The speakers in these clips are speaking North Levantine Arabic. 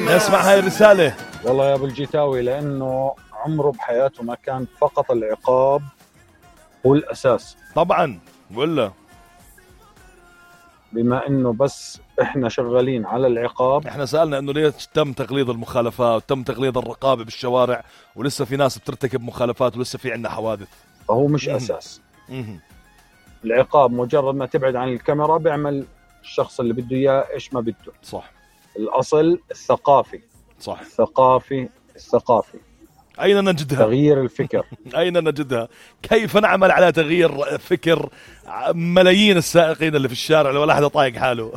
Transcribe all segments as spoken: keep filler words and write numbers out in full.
نسمع هاي الرسالة. والله يا ابو الجيتاوي لانه عمره بحياته ما كان فقط العقاب هو الاساس. طبعا ولا بما انه بس احنا شغالين على العقاب. احنا سألنا انه ليش تم تغليظ المخالفات وتم تغليظ الرقابة بالشوارع ولسه في ناس بترتكب مخالفات ولسه في عنا حوادث. فهو مش مم. اساس. مم. العقاب مجرد ما تبعد عن الكاميرا بيعمل الشخص اللي بده اياه ايش ما بده. صح. الاصل الثقافي. صح. الثقافي الثقافي أين نجدها؟ تغيير الفكر. أين نجدها؟ كيف نعمل على تغيير فكر ملايين السائقين اللي في الشارع ولا حدا طايق حاله؟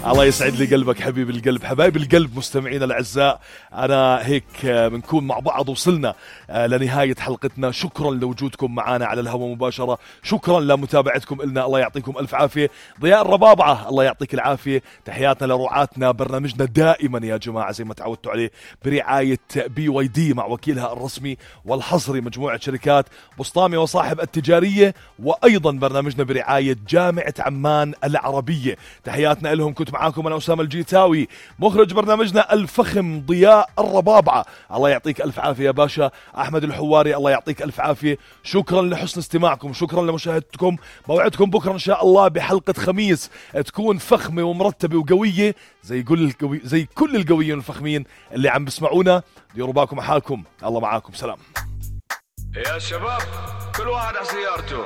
الله يسعد لي قلبك حبيب القلب. حبايب القلب مستمعينا الأعزاء، أنا هيك بنكون مع بعض وصلنا لنهاية حلقتنا. شكرا لوجودكم معنا على الهواء مباشرة، شكرا لمتابعتكم إلنا، الله يعطيكم ألف عافية. ضياء الربابعة الله يعطيك العافية. تحياتنا لرعاتنا. برنامجنا دائما يا جماعة زي ما تعودتوا عليه برعاية بي واي دي مع وكيلها الرسمي والحصري مجموعة شركات بسطامي وصاحب التجارية، وأيضا برنامجنا برعاية جامعة عمان العربية. تحياتنا لهم. كنت معاكم أنا أسامة الجيتاوي، مخرج برنامجنا الفخم ضياء الربابعة، الله يعطيك ألف عافية يا باشا. أحمد الحواري الله يعطيك ألف عافية. شكرا لحسن استماعكم، شكرا لمشاهدتكم. موعدكم بكرة إن شاء الله بحلقة خميس تكون فخمة ومرتبة وقوية زي كل القوي زي كل القويين الفخمين اللي عم بسمعونا. ديروا بالكم على حالكم، الله معاكم، سلام يا شباب كل واحد على سيارته.